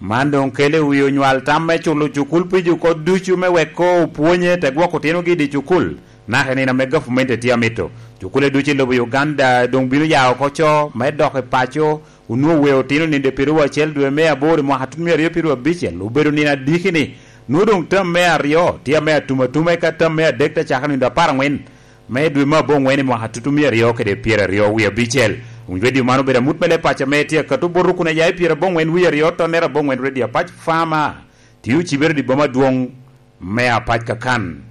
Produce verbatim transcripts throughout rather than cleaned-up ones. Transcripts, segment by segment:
Man doŋ kelo i wi onywal tam me culo cukul pijo oko ducu me wek koŋ opwonye te gwoko otinogi i dye cukul, naka i nino ame gavumenti tye amito. Cukule ducu i lobo Uganda doŋ bino ya oko co me dok i paco. Onwoŋo weo otino nino pyeraryo acel dwe me aboro i mwaka tutumia aryo pyeraryo abicel, obedo nino adiki-ni. Nwoŋo doŋ tam me aryo tye ame atumatuma, eka tam me adek te cako nino apar aŋwen me dwe me aboŋwen i mwaka tutumia aryo kede pyeraryo wie abicel. Winy redio man obedo amut me leb paco ame tye akato bot rukune ya i pyerabongwen wie aryo tonnere abongwen redio apac Fama, tye ocibere i boma adwoŋ me apac kakan.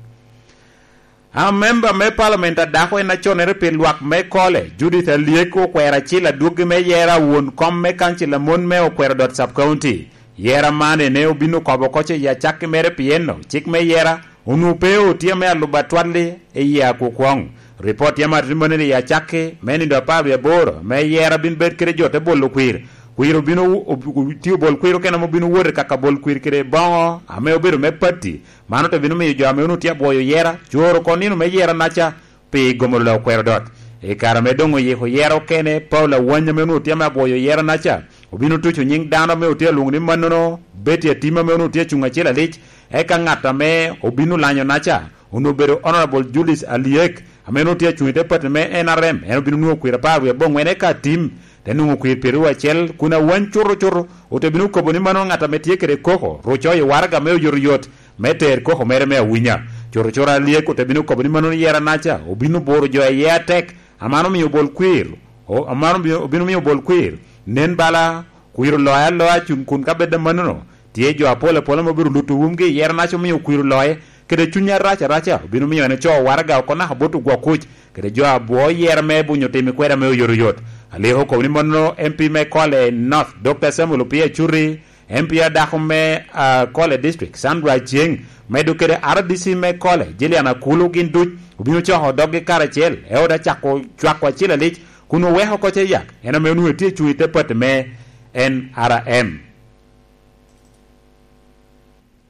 A memba me palament a dako en aconnere pi lwak me Kole, Judith Alyek, okwero acil adwoggi me yera won kom me kancil a mon me Okwero Dot Sub County. Yera man ene obin okobo oko ce i acakki mere, pien cik me yera onwoŋo pe otye ame alubo atwal-li i yie akwokwoŋ. Ripot tye amaro tye manini i acakki me nino apar wie aboro me yera bin bed kede jo te bolo kwir. Kwir obino, ob-, tye obol kwir okene ame obino wot i kaka bol kwir kede boŋo ame obedo me pati. Man ote bino miyo jo ame onwoŋo tye abwoyo yera coro oko nino me yera naca pi gomo lola Okwero Dot. I kare ame doŋ oyiko yera okene, Paul Awany ame onwoŋo tye ame abwoyo yera naca obino tuco nyiŋ dano ame otye alwoŋo ni mannono, Betty Atima ame onwoŋo tye acuŋ acel alic, eka ŋat ame obino lanyo naca onwoŋo obedo Honorable Julius Alyek, ame onwoŋo tye acuŋ i te pati me N R M, en obino nwoŋo kwir apar wie aboŋwen eka atim, te nwoŋo kwir pyeraryo acel, kun Awany cuto cuto ote bino kobo ni mano ŋat ame tye kede koko, ru coyo waraga me oyotoyot me ter koko mere me awinya. Cuto cuto Alyek ote bino kobo ni mano yera naca obino buro jo iye atek, a man omio bol kwir, o-, a man obino, obino mio bol kwir nen bala kwir oloye aloya cuŋ kun ka bed amannono, tye jo apol apol ame obedo luto wumgi i yero naca omio kwir oloye, kede cuny arac araca obino mio en ocoo waraga oko naka bot ogwok kuc, kede jo abwo yero me bunyo tim i kweda me oyotoyot. Alyek okobo ni mannono M P me Kole North, Doctor Samuel Opio Acuti, M P a dako me, ah, Kole District, Sandra Aceng, medo kede R D C me Kole, Jillian Akulu, gin duc obino coko doggi karacel, e oda cako cwako acel alic, kun oweko oko ce yak, en ame onwoŋo tye cuŋ i te pati me N R M.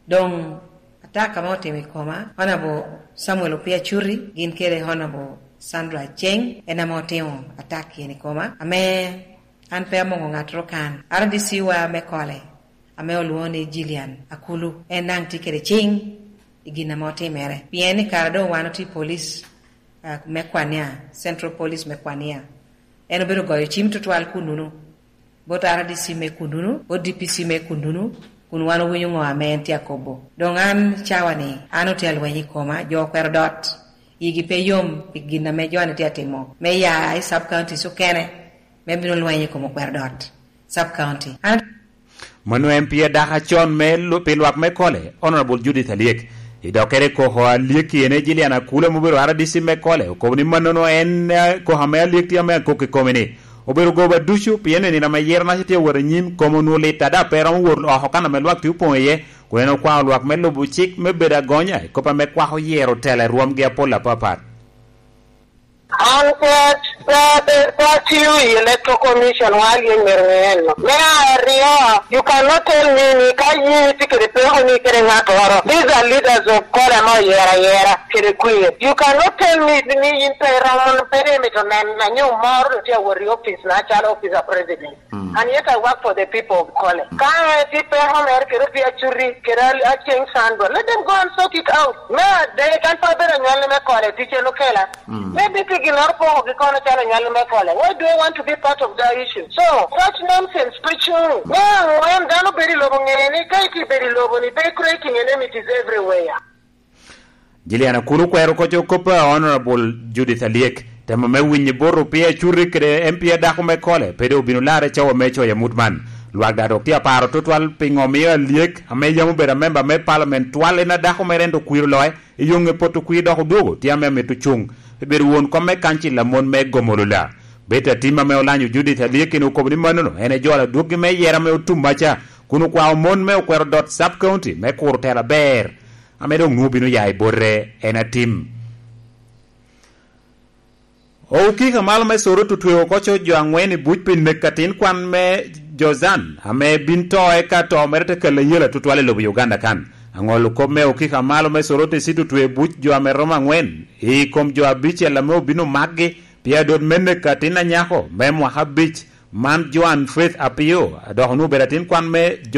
Doŋ atak ame otimo i koma, Honorable Samuel Opio Acuti, gin kede Honorable Sandra Aceng, en ame otimo atak yen i koma, ame an pe amoŋo ŋattoro kan. R D C wa me Kole, ame olwoŋo ni Jillian Akulu, en daŋ tye kede ciŋ i gin ame otimere. Pien i kare doŋ wan otye i police, ah, me Kwania, Central Police me Kwania, en obedo goyo cim tutwal kunnuno, bot R D C me kunnuno, bot D P C me kunnuno, kun wan owinyo ŋo ame en tye akobo. Doŋ an cawa-ni, an otye alweny i koma, jo Okwero Dot, yigi pe yom pi gin ame jo-ni tye atimo, me ya i sub counties okene, me bino lweny i kom Okwero Dot sub county. An Mano en pi adaka con me lu-, pi lwak me Kole, Honorable Judith Alyek. I dokkere koko Alyek ene Jillian Akula ame obedo R D C me Kole, okobo ni mannono en, eh, koko ame Alyek tye ame akok i kome ni, obedo goba ducu, pien i nino ame yero naca tye awot anyim, kome onwoŋo lit ada pe romo wot oko kan ame lwak tye opoŋ iye, kun en okwao lwak me lubo cik me bedo agonya i kop ame kwako yero tela i rwomgi apol apapat. An pe, pe, pe, pe atiyo i Electoral Commission, wa Alyek myero ŋe en no. Me aryo, you cannot tell me ni ka yin itye kede peko ni kede ŋattoro. These are leaders of Kole ame oyero ayera kede kwir. You cannot tell me ni yin pe iromo, pe imito neno anyo moro dong tye awot i office na calo office of president. Mm. And yet I work for the people of Kole. Ka en tye peko mere kede Opio Acuti, kede Al-, Aceng Sandra, let them go and sort it out. Me adek, an pe abedo anywalli me Kole, ticce en okela. Mm. Maybe pe ginnoro pokogi kono calo anywalli me Kole. Why do I want to be part of that issue? So, such nonsense preaching. Me aŋwen, dano bedo i lobo ŋe ni ka itye bedo i lobo ni, be creating enmities everywhere. Jillian Akulu okwero koc kop a Honorable Judith Alyek, temo me winyo bot Opio Acuti kede M P a dako me Kole, pe doŋ obino larre cawa me coyo amut man. Lwak daŋ dok tye aparo tutwal piŋo omio Alyek, ame yam obedo amemba me palament twal, en a dako mere ento kwir oloye, i yo ŋe poto kwir dok odwogo tye ame amito cuŋ, pe bedo won kom me kancil a mon me Gomolola. Betty Atima ame olanyo Judith Alyek en okobo ni mannono en ejolo adwoggi me yera me otum maca, kun okwao mon me Okwero Dot Sub County me kuro tela aber. Ame doŋ nwoŋo bino ya i bote en atim. Okiko a malo me Soroti otweo oko co jo aŋwen i buc pi nek atin kwan me Jozan, ame bin to eka to mere te kelle yela tutwal i lobo Uganda kan. Aŋolo kop me okiko a malo me Soroti cito otweo buc jo ame romo aŋwen i kom jo abicel ame obino makgi pi adot me nek atin anyako me mwaka abic, man Joan Faith Apio, dok onwoŋo obedo atin kwan me